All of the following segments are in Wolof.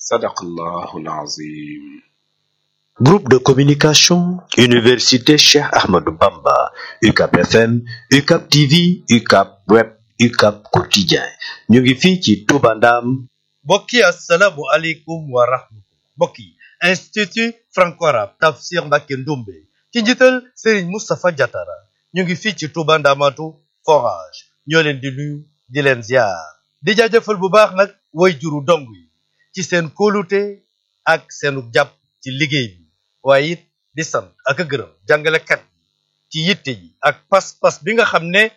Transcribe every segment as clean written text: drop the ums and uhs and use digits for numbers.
Sadaqallahul Azim. Groupe de communication, Université Cheikh Ahmadou Bamba, UCAP FM, UCAP TV, UCAP Web, UCAP Quotidien. ñu ngi fii ci Touba Ndam. mbokk yi asalaamu aleykum wa rahmatullah. mbokk yi institut franco-arabe Tafsir Mbacké Ndoumbe ci njiital Serigne Moustapha Diatara ñu ngi fii ci Touba Ndamatu forage ñoo leen di nuyu di leen ziar di jaajëfal bu baax nag way juru dong yi ci seen kóolute ak seenu jàpp ci liggéey bi waaye it di sant ak a gërëm jàngalekat yi ci yitte yi ak pas-pas bi nga xam ne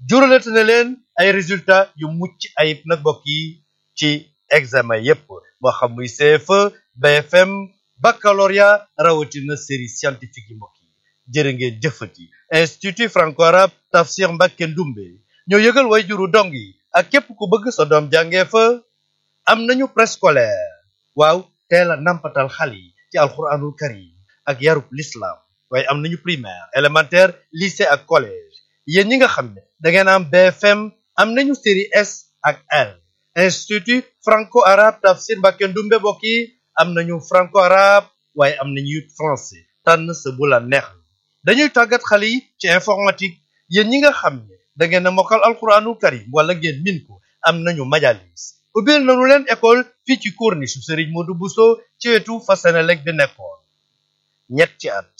juralate na leen ay résultats yu mucc ayib nag mbokk yi ci examen yépp moo xam muy CFE BFM baccalauréat rawatina série scientifique yi mbokk yi jërë ngeen jëfati institut franco-arabe Tafsir Mbacké Ndoumbe ñoo yëgal way juru dong yi ak képp ku bëgg sa doom jàngee fa am nañu préscolaire waaw teel a nampatal xale yi ci alquranul karim ak yarub l'islam waaye am nañu primaire élémentaire lycée ak collège yéen ñi nga xam ne da ngeen am BFM am nañu série S ak L institut franco-arabe Tafsir Mbacké Ndoumbe mbokk yi am nañu franco-arabe waaye am nañu français tànn sa bu la neex dañuy tàggat xale yi ci informatique yéen ñi nga xam ne da ngeen a mokkal alquranul karim wala ngeen min ko am nañu majalis ubbil nañu leen école fii ci corniche Serigne Modou Bousso ci wetu fa Senelec bi nekkoon ñetti at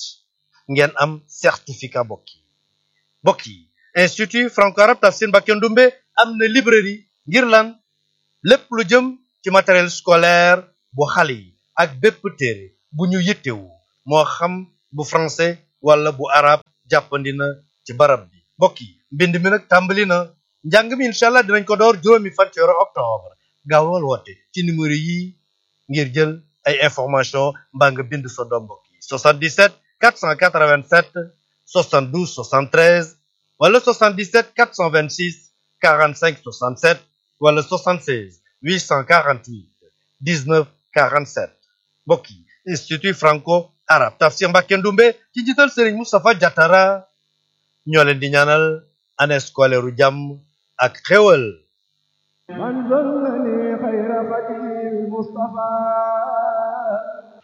ngeen am certificat mbokk yi institut franco-arabe Tafsir Mbacké Ndoumbe am na librairie ngir lan lépp lu jëm ci matériel scolaire bu xale yi ak bépp téere bu ñu yittewu moo xam bu français wala bu arabe jàppandi na ci barab bi mbokk yi mbind mi nag tàmbali na njàng mi incha allah dinañ ko door juróomi fan ci weeru octobre gaawal woote ci numéro yi ngir jël ay information mbaa nga bind sa doom mbokk yi 77 487 72 73 wala 77 426 45 67 wala 76 848 19 47 mbokk yi institut franco-arabe Tafsir Mbacké Ndoumbe ci njiital Serigne Moustapha Diatara ñoo leen di ñaanal année scolaire u jàmm ak xéwal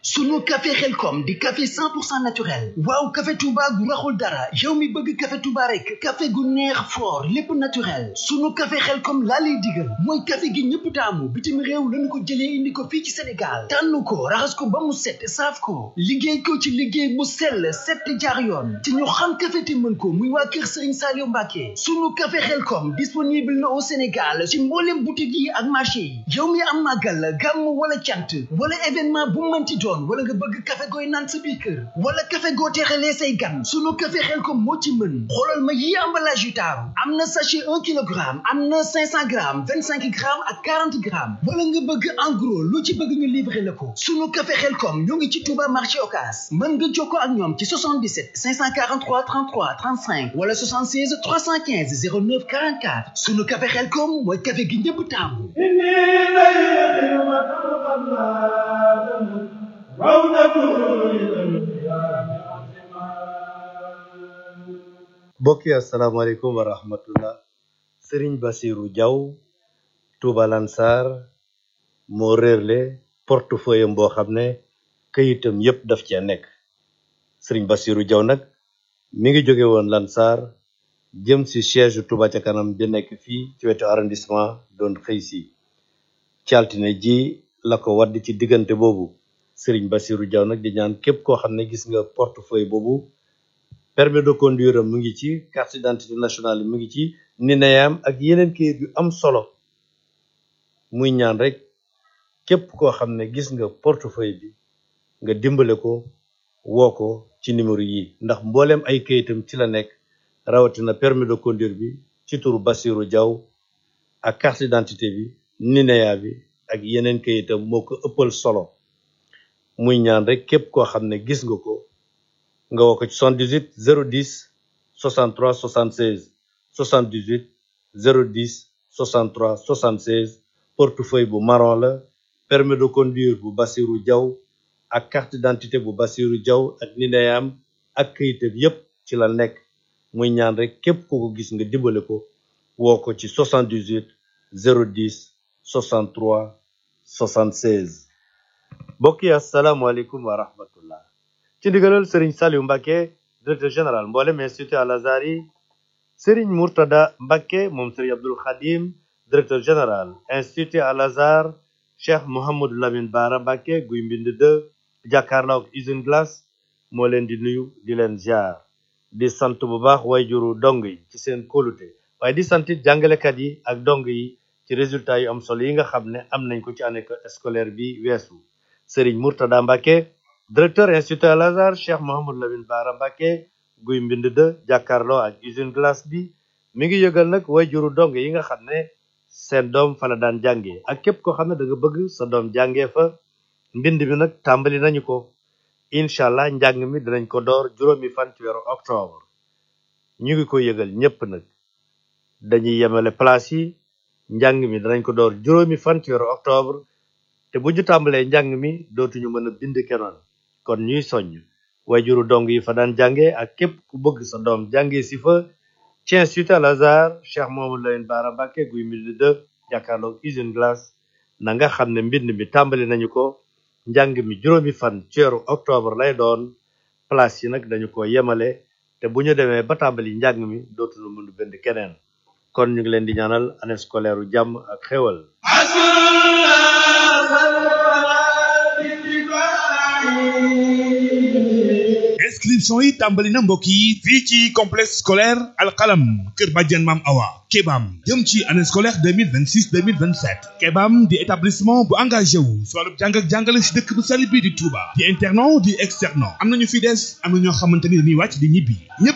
sunu café Xelkom di café 100% naturel waaw café Touba gu raxul dara yow mi bëgg café Touba rek café gu neex fort lépp naturel sunu café Xelkom laa lay digal mooy café gi ñëpp taamu bitim réew lañu ko jëlee indi ko fii ci Sénégal tànn ko raxas ko ba mu set saaf ko liggéey ko ci liggéey mu sell set jaar yoon te ñu xam café te mën ko muy waa kër Serigne Saliou Mbacké sunu café Xelkom disponible na au Sénégal ci mboolem boutique yi ak marché yi yow mi am màggal gàmm wala cant wala événement bu mënti doon wala nga bëgg café gooy naan sa biir kër wala café goo teexalee say gan sunu café Xelkom moo ci mën xoolal ma yi emballage yu taaru am na sachet 1 kilogramme am na 500 grammes 25 grammes ak 40 grammes wala nga bëgg en gros lu ci bëgg ñu livrer la ko sunu café Xelkom ñoo ngi ci Touba marché Ocass mën nga jokkoo ak ñoom ci 77 543 33 35 wala 76 315 09 44 sunu café Xelkom mooy café gi ñëpp taamu mbokk yi asalaamaaleykum wa rahmatullah Serigne Bassirou Diaw Touba Lansar moo réerle portefeuille am boo xam ne këyitam yépp daf cee nekk Serigne Bassirou Diaw nag mi ngi jóge woon Lansar jëm si siège Touba ca kanam bi nekk fii ci wetu arrondissement doon xëy si ci altine ji la ko wadd ci diggante boobu Serigne Bassirou Diaw nag di ñaan képp koo xam ne gis nga portefeuille boobu permis de conduire am mu ngi ci carte d'identité nationale mu ngi ci nineyam ak yeneen kayit yu am solo muy ñaan rek képp koo xam ne gis nga portefeuille bi nga dimbale ko woo ko ci numéro yi ndax mbooleem ay kayitam ci la nekk rawatina permis de conduire bi ci turu Bassirou Diaw ak carte d'identité bi nineya bi ak yeneen kayitam moo ko ëppal solo muy ñaan rek képp koo xam ne gis nga ko nga woo ko ci 78 010 63 76 78 010 63 76 portefeuille bu marron la permis de conduire bu Bassirou Diaw ak carte d'identité bu Bassirou Diaw ak nineyam ak kayitam yépp ci la nekk muy ñaan rek képp ku ko gis nga dimbale ko woo ko ci 78 010 63 76 mbokk yi asalaamaaleykum wa rahmatullah ci ndigalal Serigne Saliou Mbacké directeur général mboolem institut Al Azhar yi Serigne Mourtada Mbacké moom Serigne Abdoul Khadim directeur général institut Al Azhar Cheikh Mouhamadou Lamine Bara Mbacké guy mbind 2 jàkkaarloo ak usine glace moo leen di nuyu di leen ziar di sant bu baax wayjuru dong yi ci seen kóolute waaye di sant jàngalekat yi ak dong yi ci résultat yu am solo yi nga xam ne am nañ ko ci année scolaire bi weesu Serigne Mourtada Mbacké directeur institut Al Azhar Cheikh Mouhamadou Lamine Bara Mbacké guy mbind 2 jàkkaarloo ak usine glace bi mi ngi yëgal nag wayjuru dong yi nga xam ne seen doom fa la daan jàngee ak képp koo xam ne da nga bëgg sa doom jàngee fa mbind mi nag tàmbali nañu ko incha allah njàng mi dinañ ko door 7 fan ci weeru octobre ñu ngi ko yëgal ñépp nag dañuy yemale place yi njàng mi dinañ ko door 7 fan ci weeru octobre te bu ñu tàmbalee njàng mi dootuñu mën a bind kenoon kon ñuy soññ wayjuru dong yi fa daan jàngee ak képp ku bëgg sa doom jàngee si fa ci institut Al Azhar Cheikh Mouhamadou Lamine Bara Mbacké guy mbind 2 jàkkaarloog usine glace na nga xam ne mbind mi tàmbali nañu ko njàng mi 7 fan ci weeru octobre lay doon place yi nag dañu ko yemale te bu ñu demee ba tàmbali njàng mi dootuñu mën a bind keneen kon ñu ngi leen di ñaanal année scolaire u jàmm ak xéwal inscription yi tàmbali na mbokk yi fii ci complexe scolaire alxalam kër Badiane Mam Awa Kebam jëm ci année scolaire 2026-2027 Kebam di établissement bu engagé wu si wàllu jàng ak jàngale si dëkk bu sell bi di Touba di internat di externat am nañu fi des am na ñoo xamante ni dañuy wàcc di ñibbi